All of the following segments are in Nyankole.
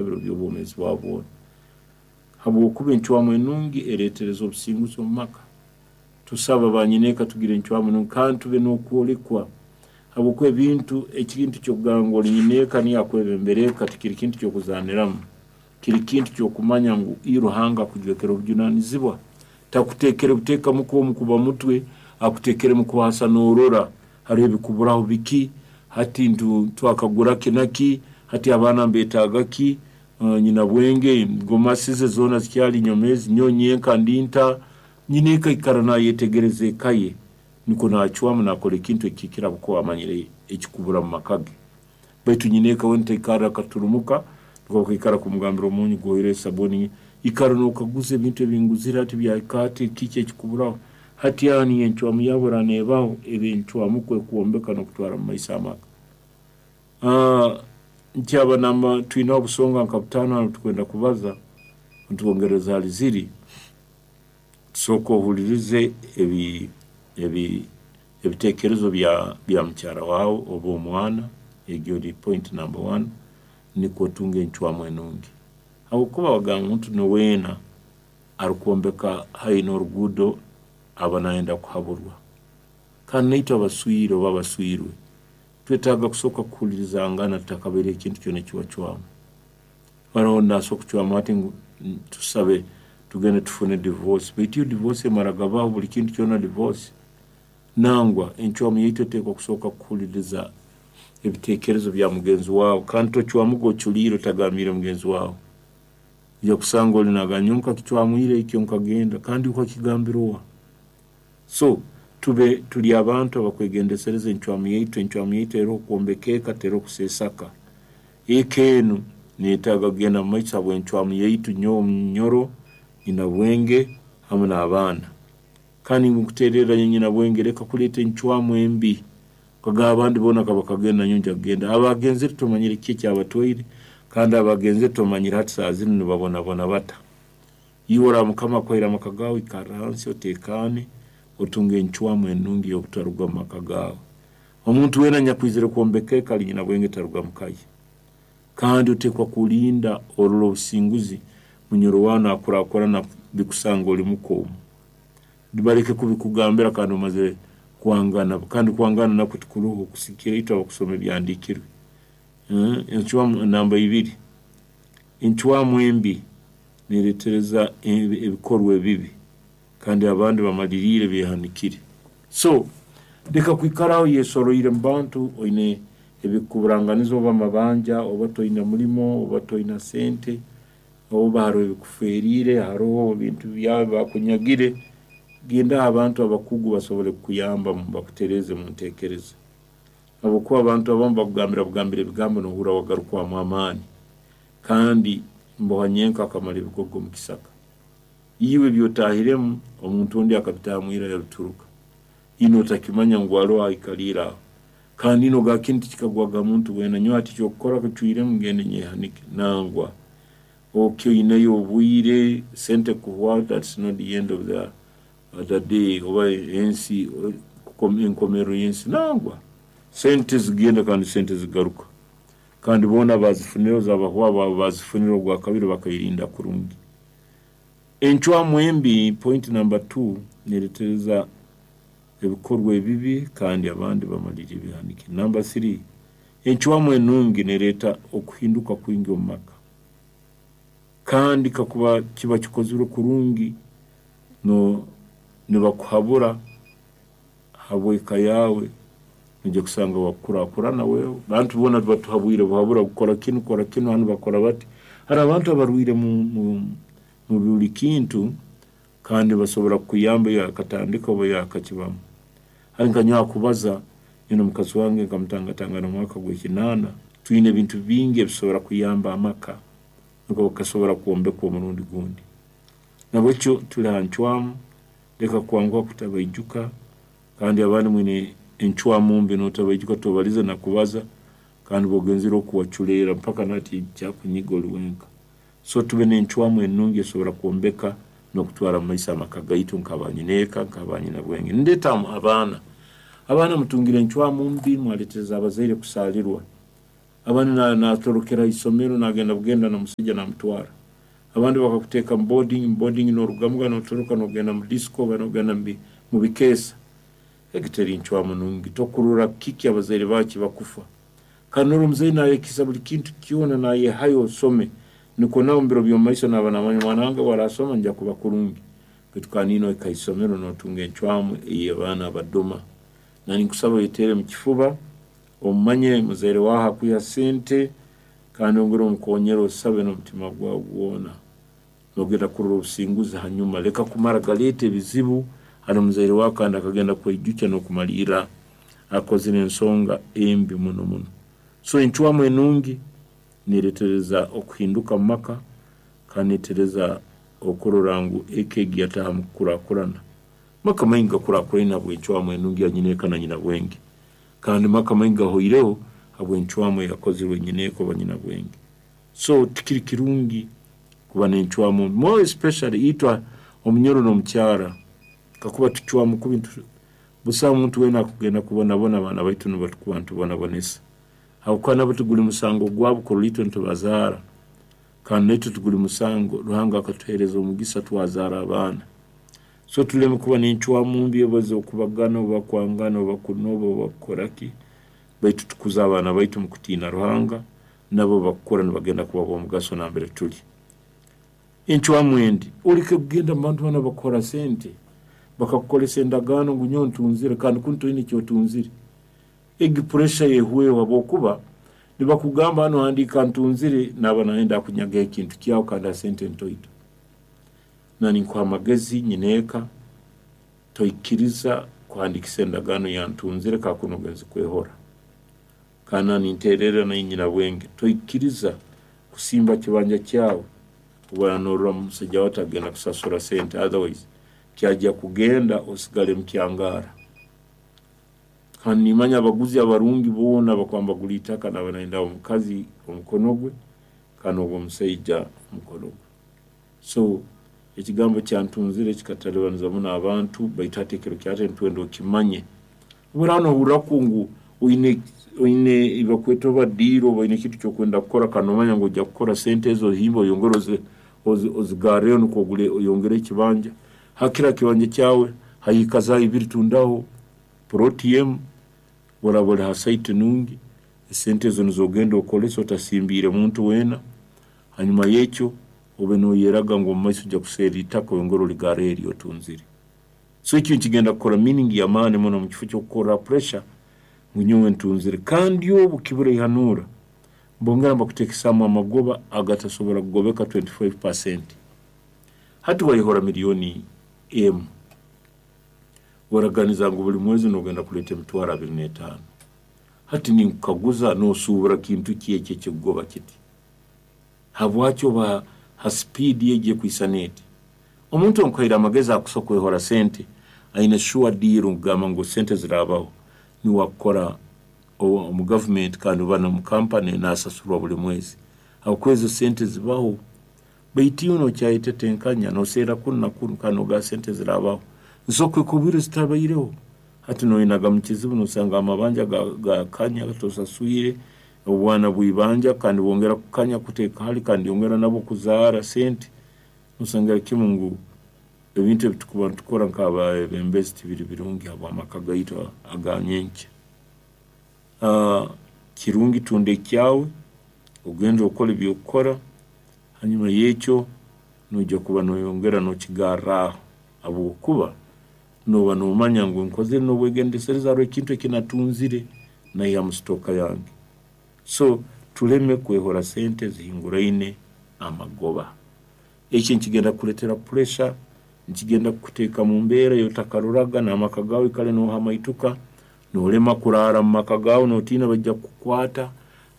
Ebiro by'obwomeezi bwawe bwona. Habwokuba encwamu enungi ereetereza obusinguzi omu maka. Tusaba banyineeka tugire encwamu enungi kandi tube n'okwolekwa habwokuba ebintu ekintu ky'okugamba ngu oli nyineeka niyo akwebembera eka tikiri kintu ky'okuzaaniramu. Kiri kintu ky'okumanya ngu i Ruhanga akujwekere obujunanizibwa. Takuteekere buteekamu kwo kuba mutwe, akuteekeremu kuhasa n'orora hariho ebikuburaho biki, hati twakagura ki na ki, hati abaana nibetaaga ki, nyina bwenge gomasi ze zoona zikyali nyomeezi, nyowe nyenka ndi nta, nyineeka aikara nayetegereza eka ye nikwo nacwamu nakora ekintu ekihikire habwokuba amanyire ekikubura mu maka ge. Baitu nyineeka we nitaikarra akaturumuka nukwo bakaikara kumugambira omunyu guhoire esabuni, ikara nokaguza ebintu ebinguzire hati byahika hati kiki ekikuburaho. Hati aho niyo encwamu yaabo eraaba neebaho eba encwamu kwo ekwombeka n'okutwara mu maiso amaka. Nkyaba namba twineho obusonga nka butaano hanu tukwenda kubaza, nitwongereza hali ziri, sooka ohulirize ebi ebi ebiteekerezo bya bya mukyara waawe oba omwana, egyo eri point number one, nikwo otunge encwamu enungi. Habwokuba bagamba omuntu niweena arukwombeka haihi n'oruguudo aba nayenda kuhaburwa. Kandi naitwe abaswire oba abaswirwe twetaaga kusooka kuhulirizangana tutakabaire ekintu kyona ekiwacwamu. Haroho nasobora kucwamu hati ngu tusabe tugende tufune divorce, baitu yo divorce emara gabaho buli kintu kyona divorce? Nangwa, encwamu yaitu eteekwa kusooka kuhuliriza ebiteekerezo bya mugenzi waawe kandi tocwamuga oculiire otagambiire mugenzi waawe. Oija kusanga oli nagamba nyowe nkakicwamu ira ekyo nkagenda kandi okakigambira oha? So tube turi abantu abakwegendesereza encwamu yaitu, encwamu yaitu eroho kwombeka eka teroho kuseesaka. Eka enu neyetaaga kugenda mu maiso habw'encwamu yaitu nyowe omunyoro, nyinabwenge hamu n'abaana. Kandi nkutererra nyowe nyinabwenge leka kuleeta encwamu embi okagamba abandi boona kabakagenda nanyowe nja kugenda. Abagenzere tomanyire kiki ekyabatwaire kandi abagenzere tomanyire hati saaha zinu nibabonabona bata. Iwe oraaba Mukama akuhaire amaka gaawe ikarra hansi oteekaane otunge encwamu enungi ey'obutaruga mu maka gaawe. Omuntu weena anyakwizire kwombeka eka ali nyinabwenge taruga mu ka ye. Kandi oteekwa kulinda orole obusinguzi munyoro waawe nakurakurana bikusanga oli muka omu. Baleke kubikugambira kandi omazire kwangana kandi kwangana nakwo tikuroho kusigikira itwe abakusoma ebyahandiikirwe. Encwamu namba ibiri, encwamu embi neretereza ebikorwa ebibi kandi abandi bamaliriire behanikire. So leka kwikara aho oyesoroire mu bantu oine ebikuburanganiza oba amabanja oba toine mulimo oba toina sente oba haroho ebikuferiire, haroho ebintu byawe bakunyagire, gendaho abantu abakugu basobole kukuyamba bakutereeze mu nteekereza. Habwokuba abantu abamu bakugambira bugambira ebigambo nohurra wagarukwamu amaani kandi mboha nyenka akamara ebigogo omu kisaka. Iwe ebi otahiremu omuntu ondi akabitaahamu ira yabituruka. Ino otakimanya ngu haroho aikaliire aho. Kandi ino ogamba kinu tikikagwaga muntu weena nyowe hati ekyokukora kicwiremu ngende nyehanike. Nangwa, okyo oineyo obwire, sente kuhwaho that's not the end of the day oba ensi enkomerero y'ensi nangwa. Sente zigenda kandi sente zigaruka. Kandi boona abazifunire zabahwaho baba bazifunire ogwakabiri bakairinda kurungi. Encwamu embi point number two neretereza ebikorwa ebibi kandi abandi bamaliriire behanikire. Number three, encwamu enungi nereeta okuhinduka kwingi omu maka. Kandi kakuba kiba kikozirwe kurungi, nibakuhabura habw'eka yaawe, noija kusanga wakukurakurana wewe. Bantu boona batuhabwire buhabura kukora kinu, kora kinu, hanu bakora bati. Haroho abantu abarwaire mu buli kintu kandi basobora kukuyamba iwe akatandika oba iwe akakibamu. Hati nka nyowe hakubaza, nyowe n'omukazi wange nkamutangatangana omu mwaka gw'ekinaana, twine ebintu bingi ebisobora kuyamba amaka nukwo gasobora kwombekwa omurundi gundi. Nahabwekyo tuli ha ncwamu, leka kwanguha kutabaijuka kandi abandi mwine encwamu mbi notabaijuka tobalize na kubaza kandi obu ogenzere oku waculeera mpaka nahati kyakunyiga oli wenka. So tube n'encwamu enungi esobora kwombeka n'okutwara mu maiso amaka gaitu nk'abanyineeka, nk'abanyinabwenge. Nindeeta abaana, abaana mutungire encwamu mbi mwaleetereza abazaire kusaalirwa. Abandi natorokera ha isomero nagenda bugenda n'omusaija namutwara. Abandi bakakuteeka mu boarding, mu boarding norugamuga notoroka nogenda mu disco oba nogenda mu bikeesa. Egi teri ncwamu nungi. Tokurora kiki abazaire baawe ekibakufa. Kandi norora omuzaire nayekisa buli kintu kyona nayehayo osome nikwo nawe omu biro by'omumaiso naaba namanya omwana wange obu arasoma nija kuba kurungi. Baitu kandi niiwe ohika ha isomero notunga encwamu ey'abaana abadoma. Nanye ninkusaba oyeteere mu kifuba, omanye muzaire waawe hakwiha sente kandi ongere omukonyere osabe n'omutima gwawe gwona. Nogenda kurora obusinguzi hanyuma. Leka kumara galeeta ebizibu hali muzaire waawe kandi akagenda kweijukya n'okumalirra akozire ensonga embi muno muno. So encwamu enungi neeretereza okuhinduka mu maka kandi neetereza okurora ngu eka egi yataaha mu kukurakurana. Amaka maingi gakurakuraine habw'encwamu enungi ya nyineeka na nyinabwenge. Kandi amaka maingi gahoireho habw'encwamu eyakozirwe nyineeka oba nyinabwenge. So tikiri kirungi kuba n'encwamu mbi more especially itwe omunyoro n'omukyara kakuba tucwamu kubi busaho muntu weena akugenda kubonabona abaana baitu nubo tukuba nitubonabonesa habwokuba nabo tiguli musango gwabo kurora itwe nitubazaara kandi naitwe tiguli musango Ruhanga akatuheereza omugisa twazaara abaana. So tuleme kuba n'encwamu mbi oba ez'okubagana oba kwangana oba kunoba oba kukora ki, baitu tukuze abaana baitu omu kutiina Ruhanga, nabo bakukura nibagenda kuba b'omugaso nambere tuli. Encwamu endi, oleke kugenda mu bantu banu abakukora sente, bakakukolesa endagaano ngu nyowe ntunzire kandi kunu toine eki otunzire. Egi puresha ehweho habwokuba nibakugamba hanu handiika ntunzire naaba nayenda akunyagaho ekintu kyawe kandi ha sente ntoito. Nanye ninkuha amagezi nyineeka, toikiriza kuhandiikisa endagaano ya ntunzire kakuba ogenze kwehora. Kandi nanye ninteererra naiwe nyinabwenge, toikiriza kusimba kibanja kyawe obu norora omusaija waawe atagenda kusasura sente otherwise kyajya kugenda osigale mukyangara. Kandi nimanya abaguzi abarungi boona abakuba nibagura itaka naaba nayenda omukazi omukono gwe kandi n'ogw'omusaija omukono gwe. So ekigambo kya ntunzire kikatalibaniza muno abantu baitu hati ekiro kya hati nitwenda okimanye. Obu oraaba nohurraku ngu oine oine bakweta oba deal oba oine ekintu ekyokwenda kukora kandi nomanya ngu ojja kukora sente ezo ohimbe oyongere ozigarreyo nikwo ogule oyongere ekibanja, hakire ha kibanja kyawe haikazaaho ibiri tundaho puroti emu, obu oraaba ori ha site nungi, esente ezo nizo ogenda okolese otasimbiire muntu weena. Hanyuma y'ekyo obe noyeraga ngu omumaiso ojja kuserra itaka oyongere oligarreho eri otunzire. So ekyo nikigenda kukora meaning y'amaani muno omu kifo ky'okukorra pressure ngu nyowe ntunzire. Kandi obu kibura ihanuura, bongera nibakuteekesaamu amagoba agatasobora kugobeka 25%. Hati wayehora miliyooni emu, waraganiza ngu buli mwezi nogenda kuleeta emitwaro 25. Hati ninkukaguza nosuubura kintu ki eki ekikugoba kiti? Habwaki oba ha sipiidi egi ekwisana eti? Omuntu onkuhaire amagezi akusobola kwehora sente aine sure deal kugamba ngu sente ziraabaho niwe akukora omu gavumenti kandi oba n'omu kampani nasasurwa buli mwezi habwokuba ezo sente zibaho. Baitu iwe nokyayetetenkanya noserra kunu na kunu kandi nogamba sente ziraabaho. Nsobola kuhika obwire zitabaireho. Hati noyenaga mu kizibu nosanga amabanja gakanya tosaswire, obwana bw'ibanja kandi bwongera kukanya kuteeka hali kandi yongera nabwo kuzaara sente. Nosangira kimu ngu ebintu ebi tukuba nitukora nk'abeebembezi tibiri birungi habw'amaka gaitu aga nyenkya. Kirungi tunda ekyawe, ogende okole eby'okukora, hanyuma y'ekyo noija kuba noyongera nokigarraaho habwokuba nooba nomanya ngu nkozere n'obwegendesereza haroho ekintu eki natunzire naiha mu sitooka yange. So tuleme kwehora sente zihinguraine amagoba. Eki nikigenda kukuleetera pressure, nikigenda kukuteeka mu mbeera ei otakaroraga n'amaka gaawe oikale nohamaituka, noolema kuraara mu maka gaawe nootiina baija kukukwata,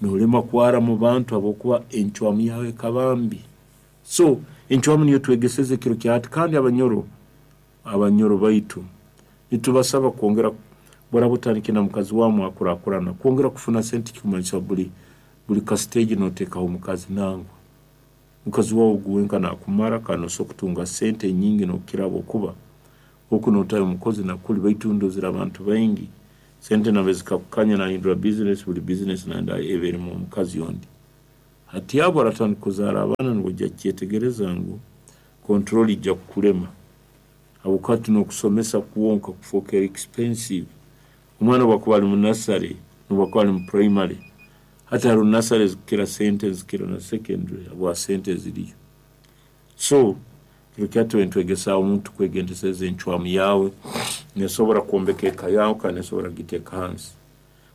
noolema kwara mu bantu habwokuba encwamu yaawe ekaba mbi. So encwamu niyo twegeseze ekiro kya hati kandi abanyoro, abanyoro baitu nitubasaba kwongera obu oraaba otandikire na mukazi waawe mwakurakurana, kwongera kufuna sente tikikumanyisa buli buli ka stage nooteekaho omukazi nangwa. Mukazi waawe ogu wenka naakumara kandi nosobola kutunga sente nyingi nookukira habwokuba oku nootayo omukozi na kuli baitu ndozere abantu baingi. Sente nambere zikakukanya nahindura bizinesi, buli bizinesi nayenda ebe erimu omukazi ondi. Hati abo oratandika kuzaara abaana nibwo ojja kukyetegereza ngu control ijja kukulema habwokuba hati n'okusomesa kwonka kufookere expensive. Omwana obu akuba ali mu nursery nobu akuba ali mu primary, hati haroho nursery ezikukira sente nizikira na secondary habwa sente eziriyo. So, kiro kya hati nitwegesaaho omuntu kwegendesereza encwamu yaawe, nesobora kwombeka eka yaawe kandi nesobora kugiteeka hansi.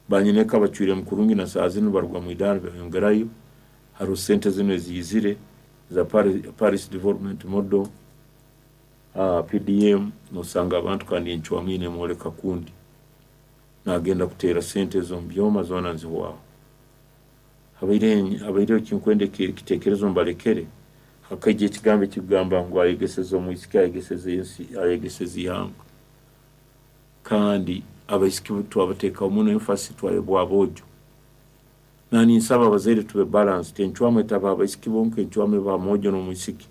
Banyineeka bacwiremu kurungi na saaha zinu baruga mwidaara nibeyongerayo, haroho sente zinu eziizire eza Paris Development Model, PDM, nosanga abantu kandi encwamu ye nemwoleka kundi. Nagenda kuteera sente ezo omu byoma zoona nizihwaho. Habaireho ekinkwenda ekitekerezo mbalekere, hakaija ekigambo ekikugamba ngu ayegeseze omwisiki ayegeseze ensi, ayegeseze ihanga. Kandi abaisiki twabateekaho muno emphasis twayebwa aboojo. Naninsaba abazaire tube balanced, encwamu etaba abaisiki bonka, encwamu eba mwojo n'omwisiki.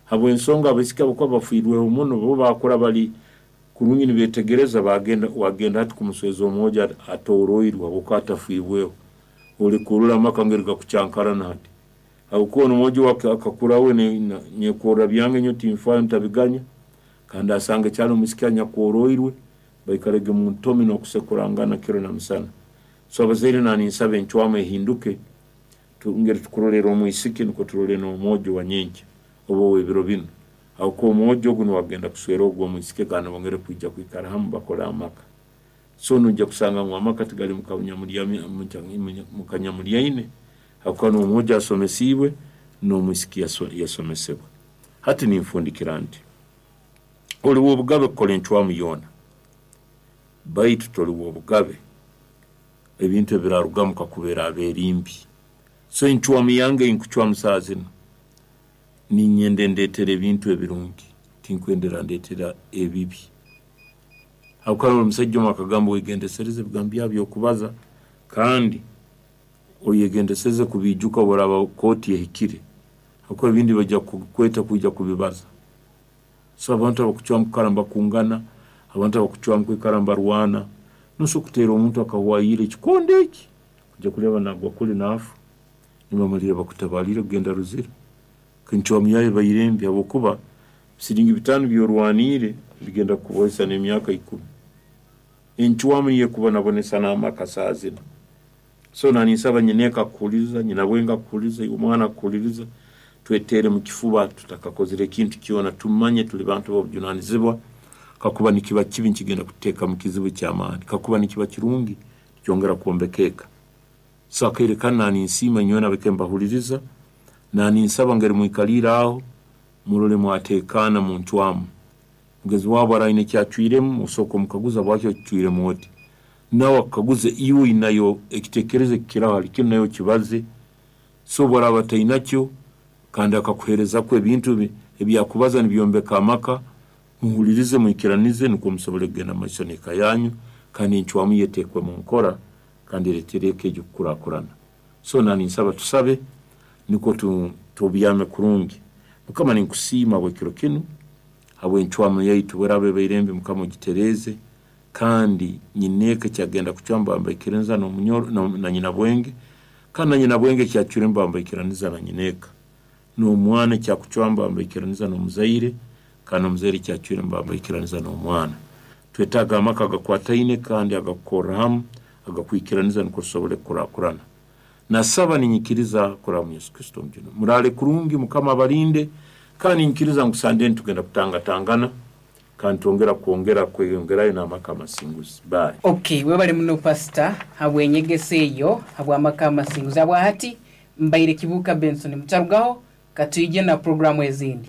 Habw'ensonga abaisiki abakuba bafiirweho muno bo bakura bali kurungi nibetegereza bagenda wagenda hati kumusweza omwojo atooroirwe habwokuba atafiibweho. Oli kurora amaka ngeri gakucankarana hati. Habwokuba onu omwojo akakura we nyekorra byange nyowe tinfaayo ntabiganya, kandi asanga ekyali omwisiki anyakworoirwe baikarege muntomi n'okusekurangana kiro na misana. So abazaire naninsaba encwamu ehinduke, ngeri tukurolera omwisiki nukwo turole n'omwojo wa nyenkya oba ow'ebiro binu. Habwokuba omwojo ogu nuwe agenda kuswera ogu omwisiki kandi bongere kwija kwikara hamu bakole amaka. So noija kusanga ngu amaka tigali mukanyamuryaine habwokuba n'omwojo asomesiibwe n'omwisiki yasomesebwa. Hati ninfundikira nti, oli w'obugabe kukora encwamu yoona, baitu toli w'obugabe ebintu ebirarugamu kakuba eraaba eri mbi. So encwamu yange eyinkucwamu saaha zinu, ninyenda endeetere ebintu ebirungi, tinkwenda erandeetera ebibi. Habwokuba haroho omusaija omu akagamba wegendesereze ebigambo byawe by'okubaza kandi oyegendesereze kubiijuka obu oraaba kooti ehikire habwokuba ebindi baija kukweta kwija kubibaza. So abantu abakucwamu kwikara nibakungana, abantu abakucwamu kwikara nibarwana, nosobora kuteera omuntu akahwayiira ekikondo eki, ojja kureeba nagwa kuli naafa, nibamalirra bakutabaaliire kugenda Luzira. Encwamu yaawe ebaire mbi habwokuba siringi 5 ebyorwaniire bigenda kukubohesa n'emyaka 10. Encwamu niyo ekubonabonesa n'amaka saaha zinu. So naninsaba nyineeka akuhuliriza, nyinabwenge akuhuliriza, iwe omwana akuhuliriza, tweteere mu kifuba tutakakozire ekintu kyona, tumanye tuli bantu b'obujunanizibwa, kakuba nikiba kibi nikigenda kututeeka mu kizibu ky'amaani, kakuba nikiba kirungi nikyongera kwombeka eka. So akaire kanu naninsiima inywena abake mbahuliriza, naninsaba ngeri mwikaliire aho, murole mwateekaana muncwamu. Mugezi waawe obu aine eki acwiremu, osooka omukaguza habwaki okicwiremu oti. Nawe akukaguze iwe oinayo ekiteekerezo ekikiraho hali kinu nawe okibaze. So obu araaba atainakyo kandi akakuheerezakwo ebintu ebi akubaza nibyombeka amaka, muhulirize mwikiranize nukwo musobole kugenda mumaiso n'eka yanyu kandi encwamu ye eteekwe mu nkora kandi ereetere eka egyo kukurakurana. So naninsaba tusabe nukwo tubyame kurungi. Mukama ninkusiima habw'ekiro kinu, habw'encwamu yaitu obu eraaba ebaire mbi Mukama ogitereeze kandi nyineeka ekyagenda kucwamu bambaikiraniza na nyinabwenge kandi na nyinabwenge ekyacwiremu bambaikiraniza na nyineeka. N'omwana ekyakucwamu bambaikiraniza n'omuzaire kandi n'omuzaire ekyacwiremu bambaikiraniza n'omwana. Twetaaga amaka agakwataine kandi agakukorra hamu, agakwikiraniza nukwo tusobole kukurakurana. Nasaba ninyikiriza kuraba mu Yesu Kristo omujuni. Muraale kurungi, Mukama abalinde, kandi ninyikiriza ngu Sande nitugenda kutangatangana kandi twongera kwongera kweyongerayo n'amaka amasinguzi. Bye. Ok, webale muno Pastor habw'enyegesa eyo habw'amaka amasinguzi. Habwahati mbaire Kibuuka Benson. Mutarugaho, katwije na puroguramu ezindi.